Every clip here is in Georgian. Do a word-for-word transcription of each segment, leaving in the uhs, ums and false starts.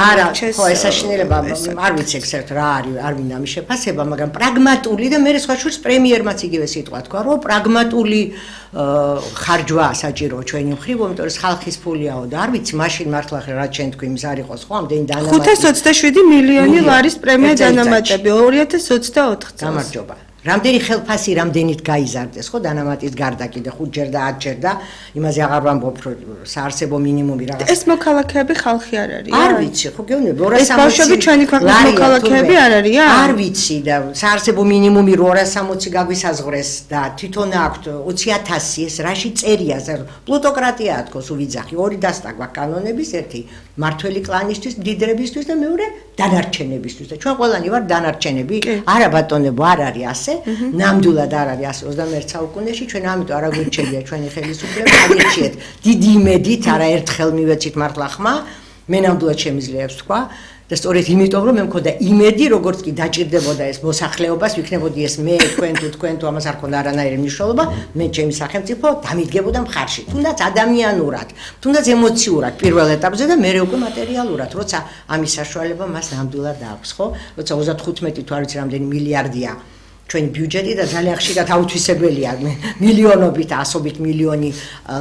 გამორჩეს. ხო, ეს საშინელება არ ვიცი ეგ საერთოდ რა არის, არ მინდა ამის შეფასება, მაგრამ პრაგმატული და მე სხვა შორის პრემიერმაც იგივე სიტყვა თქვა, რომ პრაგმატული ხარჯვა საჭიროა ჩვენი მხრივ, იმიტომ რომ ხალხის ფულიაო და არ ვიცი, მაშინ მართლა რა ჩვენ თქვი იმის არ იყოს, ხო, ამდენი დანამატი. ხუთას ოცდაშვიდი მილიონი ლარის პრემია დანამატები ორი ათას ოცდაოთხ წელს. გამარჯობა. რამდენი ხელფასი რამდენით გაიზარდეს, ხო, დანამატის გარდა კიდე ხუთჯერ და ათჯერ და იმაზე აღარ ვამბობ, რომ საარსებო მინიმუმი რაღაც. ეს მოქალაქეები ხალხი არ არიან? არ ვიცი, ხო, გეუბნები, ეს ბავშვები ჩვენი ქვეყნის მოქალაქეები არ არიან? არ ვიცი და საარსებო მინიმუმი ორას სამოცი გაგვისაზღვრეს და თვითონ აქვთ ოცი ათასი, ეს რაში წერია, პლუტოკრატია თქოს უვიძახი, ორი დასტაგვა კანონების, ერთი მართველი კლანისთვის, მდიდრებისთვის და მეორე დანარჩენებისთვის და ჩვენ ყველანი ვარ დანარჩენები, არა ბატონებო, არ არის ასე. ნამდვილად არ არის ასე ოცდამეერთე საუკუნეში ჩვენ ამიტომ არ აგვირჩევია ჩვენი ხელისუფლება აგირჩიეთ დიდი იმედით არაერთხელ მივეცით მართლა ხმა მე ნამდვილად შემიძლია ვთქვა და სწორედ იმიტომ რომ მე მქონდა იმედი როგორც კი დაჭირდებოდა ეს მოსახლეობას ვიქნებოდი ეს მე თქვენ თუ თქვენ თუ ამას არ ქონდა არანაირი მნიშვნელობა მე ჩემი სახელმწიფო დამიდგებოდა მხარში თუნდაც ადამიანურად თუნდაც ემოციურად პირველ ეტაპზე და მერე უკვე მატერიალურად როცა ამის საშუალება მას ნამდვილად აქვს ხო როცა ოცდახუთმეტი თუ არ ვიცი რამდენი მილიარდია ჩვენი ბიუჯეტი და ძალიან ხშირად აუთვისებელია მილიონობით ასობით მილიონი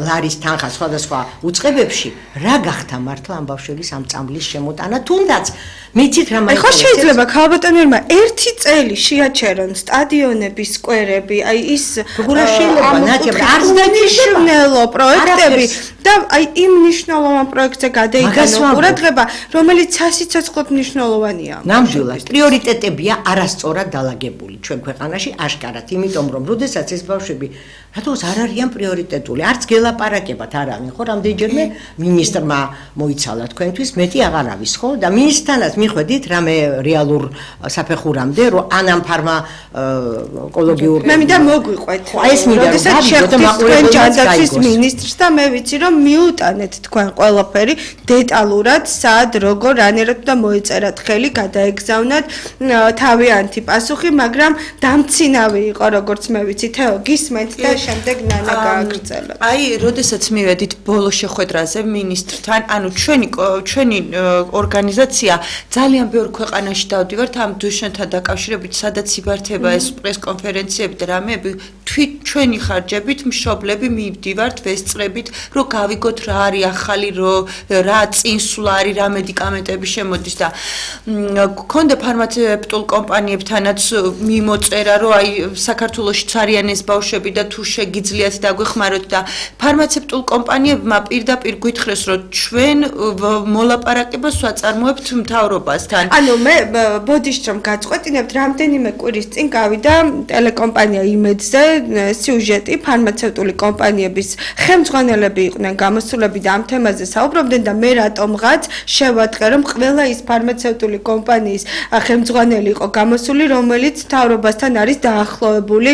ლარის თანხა სხვადასხვა უწყებებში რა გახდა მართლა ამ ბავშვების ამ წამლის შემოტანა თუნდაც მეცით რა მაინტერესებს ხო შეიძლება ქალბატონებმა ერთი წელი შეაჩერონ სტადიონების სკვერები აი ის როგორ შეიძლება ნათია არც დანიშნულო პროექტები და აი იმ მნიშვნელოვან პროექტზე გადაიგანო ყურადღება რომელიც სასიცოცხლოდ მნიშვნელოვანია ნამდვილად პრიორიტეტებია არასწორად დალაგებული ჩვენ ქვეყანაში აშკარად იმიტომ რომ როდესაც ეს ბავშვები რატოს არ არიან პრიორიტეტული არც გელაპარაკებათ არ არის ხო რამდენჯერმე მინისტრმა მოიცალა თქვენთვის მეტი აღარ არის ხო და მინისტრთანაც მიხვედით რამე რეალურ საფეხურამდე რომ ანამ ფარმა ეკოლოგიურ მე მინდა მოგვიყვეთ აი ეს მინდა როდესაც შეხვდით თქვენ ჯანდაცვის მინისტრს და მე ვიცი რომ მიუტანეთ თქვენ ყველაფერი დეტალურად სად როგორ რანერად და მოეწერათ ხელი გადაეგზავნათ თავიანთი პასუხი მაგრამ დამცინავი იყო როგორც მე ვიცი თეო გისმენთ და შემდეგ ნანა გააგრძელა. აი, როდესაც მივედით ბოლო შეხვედრაზე მინისტრთან, ანუ ჩვენი ჩვენი ორგანიზაცია ძალიან ბევრ ქვეყანაში დავდივართ ამ დუშენთან დაკავშირებით, სადაც იბართება ეს პრესკონფერენციები და რამეები, თვით ჩვენი ხარჯებით მშობლები მივდივართ, ვესწრებით, რომ გავიგოთ რა არის ახალი, რა წინსვლა არის, რა მედიკამენტები შემოდის და გქონდა ფარმაცევტულ კომპანიებთანაც მიმოწერა, რომ აი საქართველოში არიან ეს ბავშვები და თუ შეგიძლიათ დაგვეხმაროთ და ფარმაცევტულ კომპანიებმა პირდაპირ გვითხრეს რომ ჩვენ მოლაპარაკებას ვაწარმოებთ მთავრობასთან. ანუ მე ბოდიშ რომ გაწყვეტინებთ რამდენიმე კვირის წინ გავიდა ტელეკომპანია იმედზე სიუჟეტი ფარმაცევტული კომპანიების ხელმძღვანელები იყვნენ გამოსულები და ამ თემაზე საუბრობდნენ და მე რატომღაც შევატყე რომ ყველა ის ფარმაცევტული კომპანიის ხელმძღვანელი იყო გამოსული რომელიც მთავრობასთან არის დაახლოებული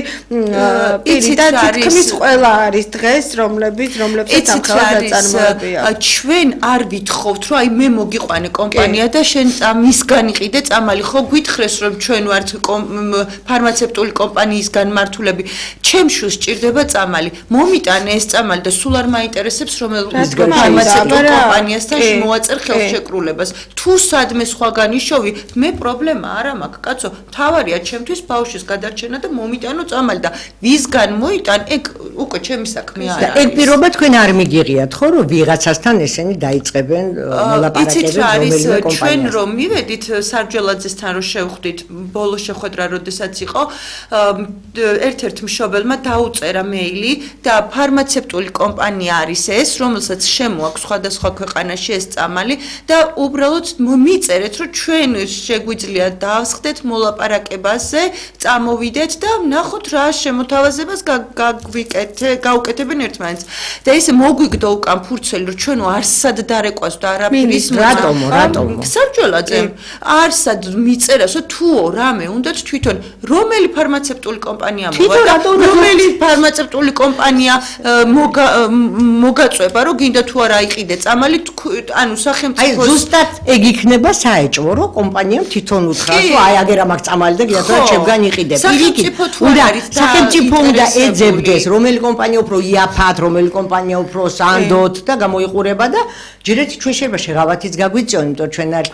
პირი და თითქმის ყველა არის დღეს რომლებიც რომლებსაც ამხელად აწარმოებია. ჩვენ არ ვითხოვთ რომ აი მე მოგიყვანე კომპანია და შენ მისგან იყიდე წამალი ხო გვითხრეს რომ ჩვენ ვართ ფარმაცევტული კომპანიის განმართულები ჩემშუს სჭირდება წამალი მომიტანე ეს წამალი და სულ არ მაინტერესებს რომელ ფარმაცევტულ კომპანიასთან მოვაწერ ხელშეკრულებას თუ სადმე სხვაგან იშოვი მე პრობლემა არ მაქვს კაცო მთავარია ჩემთვის ბავშვის გადარჩენა და მომიტანო წამალი და ვისგან მოიტან ეგ უკვე ჩემი საქმე არ არის. ეგ პირობა თქვენ არ მიგიღიათ ხო რომ ვიღაცასთან ესენი დაიწყებენ მოლაპარაკებებს რომელიმე კომპანიასთან. ჩვენ რომ მივედით სარჯელაძესთან რომ შევხვდით ბოლო შეხვედრა როდესაც იყო ერთ-ერთ მშობელმა დაუწერა მეილი და ფარმაცევტული კომპანია არის ეს რომელსაც შემოაქვს სხვადასხვა ქვეყანაში ეს წამალი და უბრალოდ მიწერეთ რომ ჩვენ შეგვიძლია დავსხდეთ მოლაპარაკებაზე წამოვიდეთ და ნახოთ რა შემოთავაზებას გაგვიკეთე გაუკეთებენ ერთმანეთს და ესე მოგვიგდო უკან ფურცელი რომ ჩვენ არსად დარეკვას და არაფრის რატომ რატომ სარჯელაძე არსად მიწერასო თუო რამე უნდათ თვითონ რომელი ფარმაცევტული კომპანია მოვა რომელი ფარმაცევტული კომპანია მოგაწובה რომ გინდა თუ არა იყიდე წამალი ანუ სახელმწიფო აი ზუსტად ეგ იქნება საეჭვო რომ კომპანიამ თვითონ უთხრა რომ აი აგერა მაგ წამალი და გინდა თუ ჩემგან იყიდე პირიქით სახელმწიფო უნდა ეძებდეს რომელი კომპანია უფრო იაფად რომელი კომპანია უფრო სანდოთ და გამოიყურება და ჯერეთ ჩვენ შეიძლება შეღავათიც გაგვიწიონ იმიტომ ჩვენ არ